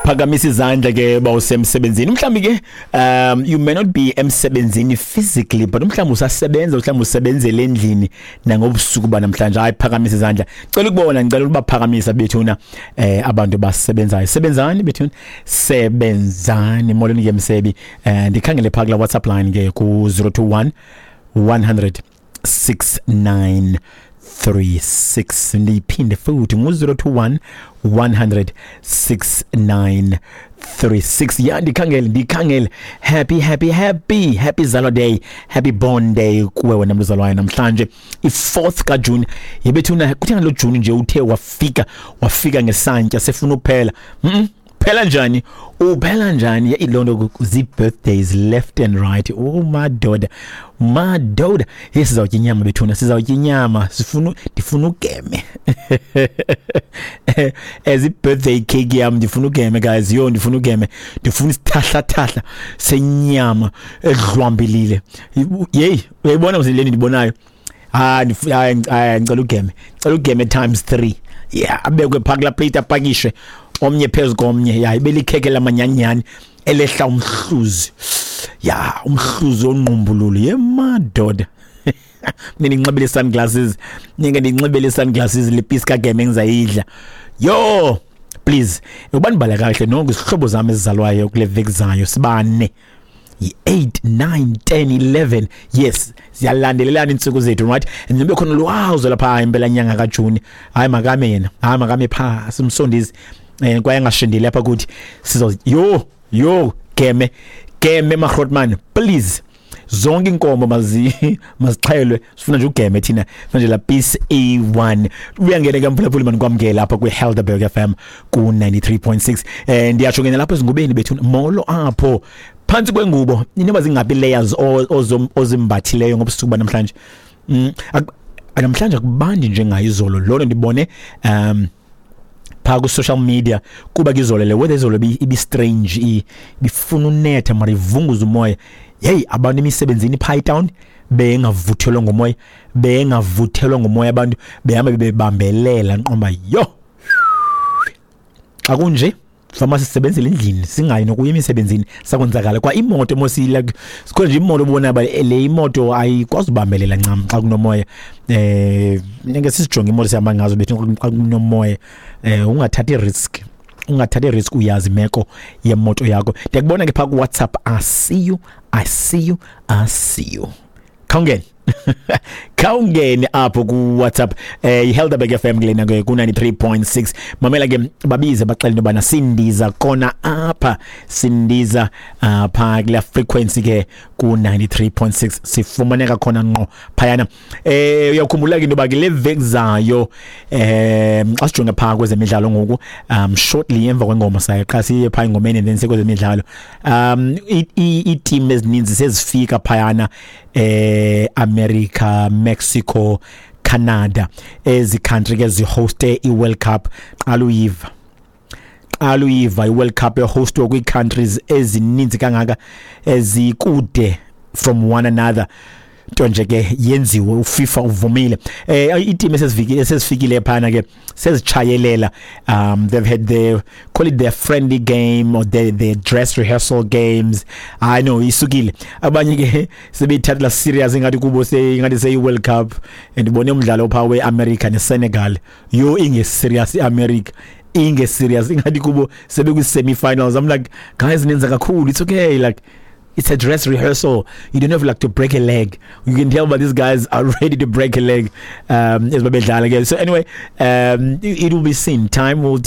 Phakamisa izandla ke bawusemsebenzini. Mhlawumbi ke you may not be emsebenzini physically, but mhlawumbi usasebenza, mhlawumbi usebenzele endlini nangobusuku banamhlanje. Hayi, phakamisa izandla. Cela ukubona, ngicela ukubaphakamisa bethuna abantu basebenzayo. Sebenzani bethuna, sebenzani. Molweni ke msebi. Ndikhangele phaa kula WhatsApp line ke ku 021 100 69 36. Ndiyiphinde futhi, ngu-021 100 6936. Ya, ndikhangele, ndikhangele. Happy, happy, happy, happy zalo day, happy born day kuwe wena mzalwane namhlanje, i-4th kaJuni. Yebethuna, kuthena lo Juni nje uthe wafika, wafika ngesantya, sefuna uphela. Phela njani? Uphela njani? Iloo nto, zii-birthdays left and right. Oh madoda, madoda, ye, sizawutya inyama bethuna, sizawutya inyama. Sifuna, ndifuna ugeme as i-birthday cake yam. Ndifuna ugeme, guys. Yo, ndifuna ugeme, ndifuna isithahlathahla senyama edlwambilile. Yeyi, uyayibona mse le ndibonayo? Hayi, hayi, ngicela ugeme, ngicela ugeme times 3. Yeah, abekwe phaa kulaa plate, apakishwe omnye phezu komnye. Ya, ibe likhekhe lamanyanyani elehla umhluzi, ya, umhluzi onqumbululu. Ye madoda, mina ndinxibile sunglasses, ninge ndinxibile sunglasses, le piece kageme engizayidla. Yo, please, uba ndibala kahle nonke izihlobo zami ezizalwayo kule veki zayo, sibane yi-8, 9, 10, 11. Yes, ziyalandelelana iintsuku zethu, right? And nibe khona lwazo lapha impela nyanga kaJuni. Hayi, makame yena, hayi, makame phaa, simsondezi kwaye angashindeli apha kuthi. Sizo, yo, yo, geme, geme magrotman, please. Zonke inkomo mazixhelwe, sifuna nje ugeme thina manje, la piece A1. Uyangena ke mphulaphuli, manikwamkela apha kwi-Helderberg FM ku-93.6. Ndiyatsho ngena lapho ezingubeni bethu. Molo apho phantsi kwengubo, inoba zingapi layers ozimbathileyo ngobusuku banamhlanje? Namhlanje akubandi njengayo izolo. Lona ndibone phaa ku-social media, kuba ke izolo le weather, izolo ibi-strange, ibifuna unetha mara ivunguza umoya. Yeyi, abantu emisebenzini phaa etown bengavuthelwa ngumoya, bengavuthelwa ngumoya, abantu behamba bebambelela nqomba. Yho, xa kunje fama sisebenzele endlini, singayi nokuya emisebenzini, sakwenzakala kwa imoto mos. Like, sikhona nje imoto obona ba le imoto ayikwazi ubambelela ncam xa kunomoya. Ngeke sisijonge imoto sihamba ngazo bethu xa kunomoya. Ungathathi risk, ungathathi risk, uyazi imeko yemoto yakho. Ndiyakubona ke phaa ku-WhatsApp. I see you, I see you, I see you. Khawungene, khawungene apho ku-WhatsApp. iHelderberg FM kulena ke ku-93.6. Mamela ke, babize baxele into yobana sindiza kona apha, sindiza phaa kula frequency ke ku-93.6, sifumaneka khona ngqo phayana. Uyakhumbula ke into yoba ke le veki zayo, xa sijonge phaa kwezemidlalo ngoku, shortly emva kwengoma, saye qha siye phaa engomeni and then sekwezemidlalo. Iiteam ezininzi sezifika phayana, America, Mexico, Canada, ezi country ke zihoste iWorld Cup. Qala uyiva, qala uyiva iWorld Cup ehostwa kwii-countries ezininzi kangaka ezikude from one another. Nto nje ke yenziwe, uFIFA uvumile. Iiteam esesifikile, esezifikile phana ke sezichayelela. They've had their, call it their friendly game or their dress rehearsal games. I know isukile, abanye ke sebeyithathela serious, ingathi kubo ingathi seyi World Cup. And ibone umdlalo pha weAmerica neSenegal, yo, inge serious iAmerica, inge serious, ingathi kubo sebekwi semi-finals. I'm like, "Guys, nenza kakhulu, it's okay." Like, it's a dress rehearsal. You don't have like to break a leg. You can tell, but these guys are ready to break a leg as babedlala ke. So anyway, it will be seen. Time will